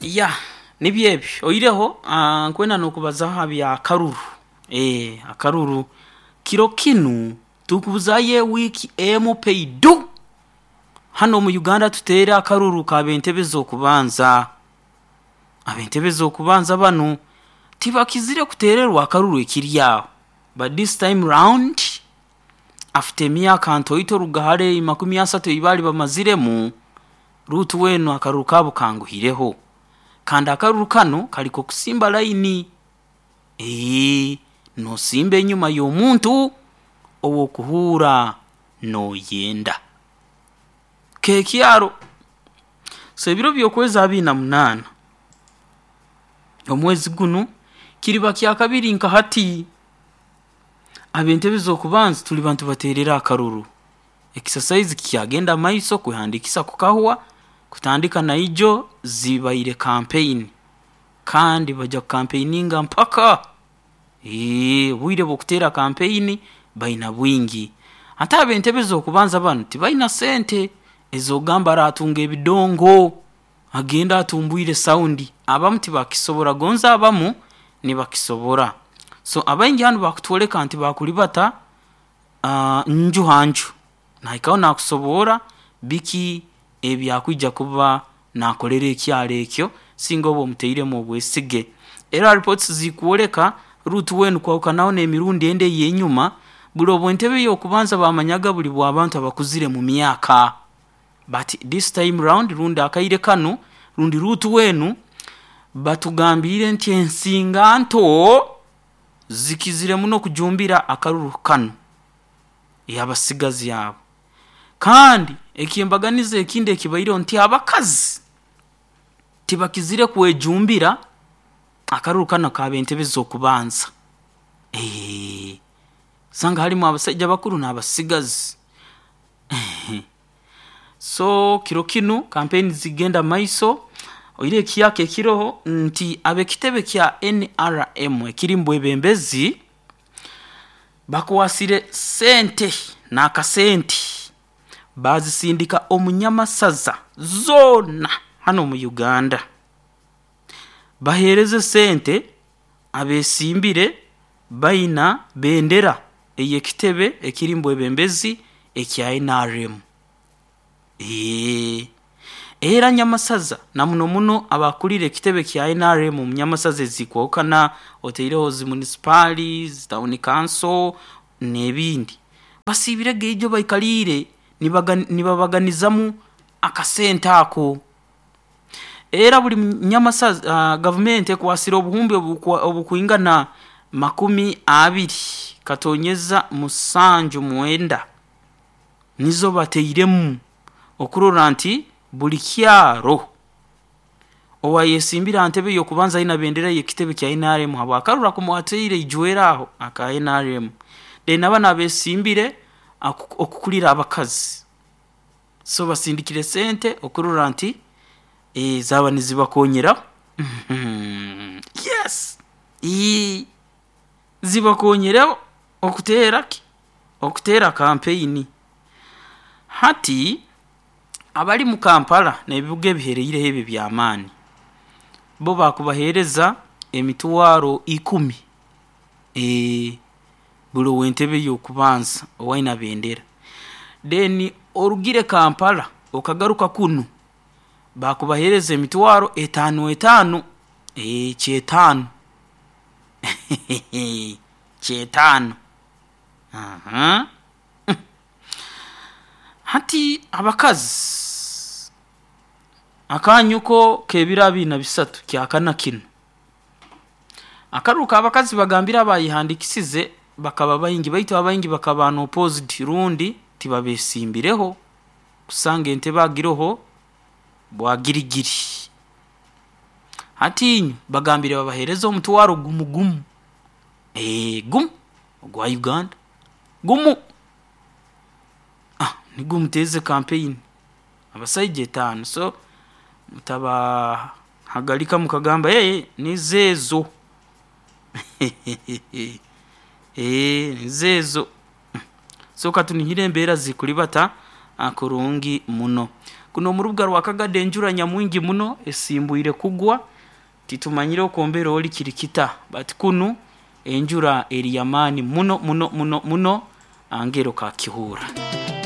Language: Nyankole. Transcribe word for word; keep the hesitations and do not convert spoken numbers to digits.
Ya nibyo ebyo oireho ah, nkwenda nokubazaho aha bya karuru eh akaruru kiro kinu tukubuzayo ewiiki emu peidu hano omu Uganda tuteere akaruru k'ab'entebe z'okubanza. Ab'entebe z'okubanza banu tibakizire kuteererwa akaruru ekiri aho, but this time round after emyaka ntoito ruga hare makumi asatu ei baali bamaziremu, Ruth weenu akaruru kaabo kanguhireho. Kandi akaruru kanu kari k'okusimba layini, eeh noosimba enyuma y'omuntu ou okuhuura nooyenda. Keekyaro, so ebiro by'okwezi abiri na munaana omwezi gunu kiriba kyakabiri nka hati ab'entebe z'okubanza tuliba nitubateerera akaruru. Exercise kikyagenda mumaiso, kwehandiikisa kukahwa, kutandika naijo zibaire campaign kandi baija kukampeininga mpaka, eeh obwire bw'okuteera campaign baina bwingi. Hati ab'entebe z'okubanza banu tibaina sente ez'okugamba araatunga ebidongo agende atumbwire sound, abamu tibakisobora gonza abamu nibakisobora. So abaingi hanu bakutworeka nti baakuribata nju ha nju, naahikaho naakusoborra biki ebi akwija kuba naakolera ekyaro ekyo singa oba omutairemu obwesige. Era reports zikwoleka Ruth weenu kwahukanaho n'emirundi endi ey'enyuma, buri obw'entebe ey'okubanza baamanyaga buri bw'abantu abakuzire mu myaka, but this time round rundi akaire kanu rundi Ruth weenu batugambiire nti ensinganto zikizire muno kujumbira akaruru kanu ey'abasigazi abo. Kandi eky'embaganiza ekindi ekibaireho nti abakazi tibakizire kwejumbira akaruru kanu ak'ab'entebe z'okubanza, eeh osanga harimu abasaija bakuru n'abasigazi. So kiro kinu campaign zikugenda mumaiso, oihireho ekiyaka ekiroho nti ab'ekitebe kya N R M ekiri mubwebembezi bakwasire sente n'akasente baazisindika omu nyamasaza zoona hanu omu Uganda. Baheereze sente abeesimbire baina bendera ey'ekitebe ekiri mubwebembezi ekya N R M. Eeh era nyamasaza na muno muno abakuliire ekitebe kya N R M omu nyamasaza ezikwahukana otaireho zi munisipaali, zi town council n'ebindi, basiibirege ijo baikaliire nibaga nibabaganizamu akasente ako. Era buri nyamasaza gavumenti ekwasire obuhumbi obukwa obukwingana makumi abiri katoonyeza musanju mwenda nizo batairemu okurora nti buri kyaro owaayesimbire ha ntebe y'okubanza aina bendera y'ekitebe kya N R M habw'akaruru aku mwateire ijweri aho aka N R M. Then na banu abeesimbire aku okukulira abakazi, so basindikire sente okurora nti eeh zaaba nizibakonyeraho, yes, ii zibakonyereho okuteera ki? Okuteera campaign. Hati abari mu Kampala n'ebibuga ebiheereireho ebi eby'amaani, bo baakubaheereza emitwaro ikumi eeh buri ow'entebe y'okubanza owaina bendera. Then orugire Kampala okagaruka kunu baakubaheereza emitwaro etaano etaano, eeh kyetaano kyetaano ahaa. Hati abakazi akaanyu ko k'ebiro abiri na bisatu kyakana kinu, akaruru k'abakazi bagambire abaayehandiikisize bakaba baingi baitu abaingi bakaba unopposed rundi tibabeesimbireho kusanga entebe agiroho bwagirigiri. Hati inywe bagambire babaheereze omutwaro gumu gumu, eeh gumu ogwa Uganda, gumu, ah nigwo muteeze campaign, abasaija etaano so mutabahagarika mukagamba eeh nizo ezo eeh nizo ezo. So katunihire embeera zikuribata kurungi muno. Kuno omu rubuga rwa Kagadi enjura nyamwingi muno esimbwire kugwa, titumanyire oku ori kiri kita, but kunu enjura eri y'amaani muno muno muno muno, angero kakihuura.